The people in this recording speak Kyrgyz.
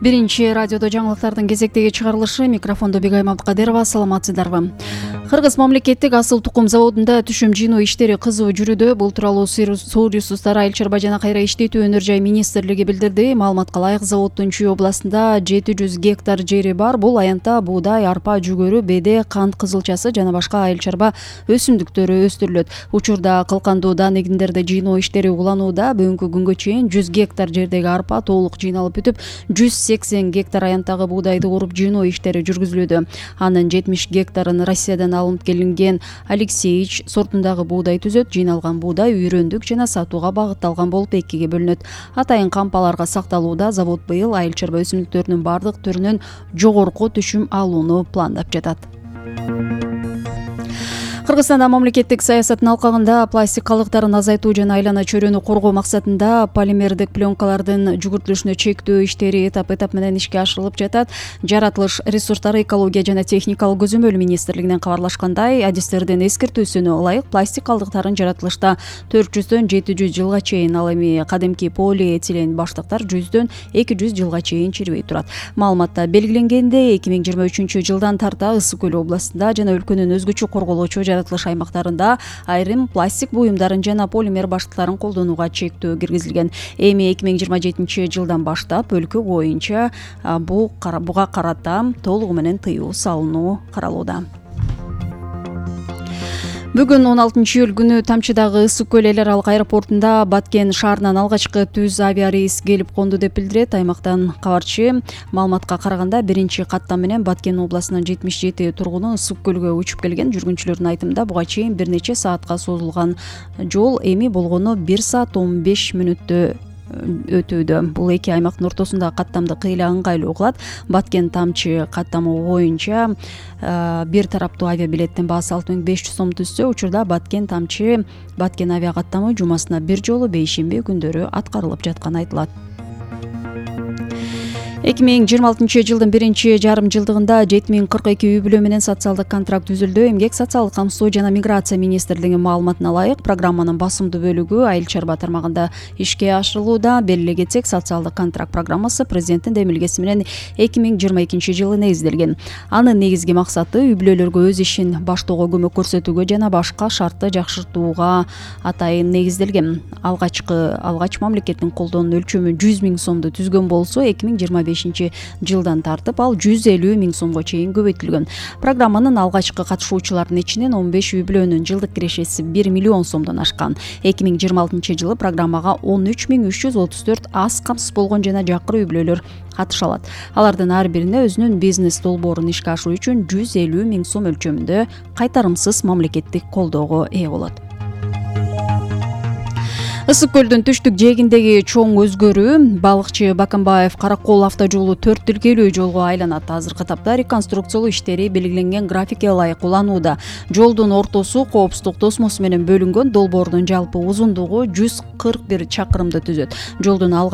Биринчи радиодо жаңылыктардын кезектеги чыгарылышы. Микрофондо Бегай Мамдыкадырова. Саламатсыздарбы? Кыргыз мамлекеттик асыл тукум заводунда түшүм жыйноо иштери кызуу жүрүүдө. Бул тууралуу Суу ресурстары, Айыл чарба жана кайра иштетүү өнөр жай министрлиги билдирди. Маалыматка ылайык, заводдун Чүй областында 700 гектар жери бар. Бул аянтта буудай, арпа, жүгөрү, беде, кант кызылчасы жана башка айыл чарба өсүмдүктөрү өстүрүлөт. Учурда кылкандуу дан эгиндерди жыйноо иштери уланууда. Бүгүнкү күнгө чейин 100 гектар жердеги арпа толук жыйналып бүтүп, 180 гектар аянттагы буудайды уруп жыйноо иштери жүргүзүлүүдө. Анын 70 гектарын Россиядан алынып келинген Алексеевич сортундагы буудай түзөт. Жыйналган буудай үйрөндүк жана сатууга багытталган болуп экиге бөлүнөт. Атайын кампаларга сакталууда. Завод быйыл айыл чарба өсүмдүктөрүнүн бардык түрүнөн жогорку түшүм алууну пландап жатат. Кыргызстанда мамлекеттик саясаттын алкагында пластик калдыктарын азайтуу жана айлана чөйрөнү коргоо максатында полимердик пленкалардын жүгүртүлүшүнө чектөө иштери этап менен ишке ашырылып жатат. Жаратылыш ресурстары, экология жана техникалык көзөмөл министрлигинен кабарлашкандай, адистердин эскертүүсүнө ылайык пластик калдыктарын жаратылышта 400дөн 700 жылга чейин, ал эми кадимки полиэтилен баштыктар 100дөн 200 жылга чейин чирибей турат. Маалыматта белгиленгендей, 2023 жылдан тарта Ысык көл областында жана өлкөнүн өзгөчө корголочу жаратылыш аймактарында айрым пластик буюмдарын жана полимер баштыктарын колдонууга чектөө киргизилген. Эми 2027 жылдан баштап өлкө боюнча буга карата толугу менен тыюу салынуу каралууда. Бүгүн 16 июль күнү Тамчыдагы Ысык көл эл аралык аэропортунда Баткен шаарынан алгачкы түз авиарейс келип конду деп билдирет аймактан кабарчы. Маалыматка караганда, биринчи каттам менен Баткен областынын 77 тургуну Ысык көлгө учуп келген. Жүргүнчүлөрдүн айтымында, буга чейин бир нече саатка созулган жол эми болгону 1 саат 15 мүнөттө өтүүдө. Бул эки аймактын ортосундагы каттамды кыйла ыңгайлуу кылат. Баткен Тамчы каттамы боюнча бир тараптуу авиабилеттин баасы 6500 сом түзсө, учурда Баткен Тамчы Баткен авиа каттамы жумасына бир жолу бейшемби күндөрү аткарылып жатканы айтылат. 2026 жылдын биринчи жарым жылдыгында 7042 үй бүлө менен социалдык контракт түзүлдү. Эмгек, социалдык камсоо жана миграция министрлигинин маалыматына ылайык, программанын басымдуу бөлүгү айыл чарба тармагында ишке ашырылууда. Белгилей кетсек, социалдык контракт программасы президенттин демилгеси менен 2022 жылы негизделген. Анын негизги максаты үй бүлөлөргө өз ишин баштоого көмөк көрсөтүүгө жана башка шартты жакшыртууга атайын негизделген. Алгач мамлекеттин колдоонун өлчөмү 100 000 сомду түзгөн болсо, 2025 жылдан тартып ал 150 000 сомго чейин көбөйтүлгөн. Программанын алгачкы катышуучуларынын ичинен 15 үй бүлөнүн жылдык кирешеси 1 миллион сомдон ашкан. 2026 жылы программага 13 334 аз камсыз болгон жана жакыр үй бүлөлөр катыша алат. Алардын ар бирине өзүнүн бизнес долбоорун ишке ашыруу үчүн 150 000 сом өлчөмүндө кайтарымсыз мамлекеттик колдоого ээ болот. Ысык көлдүн түштүк жээгиндеги чоң өзгөрүү. Балыкчы Баканбаев Каракол автожолу 4 тилкелүү жолго айланат. Азыркы тапта реконструкциялоо иштери белгиленген графикке ылайык уланууда. Жолдун ортосу коопсуздук тосмосу менен бөлүнгөн. Долбоордун жалпы узундугу 141 чакырымды түзөт. Жолдун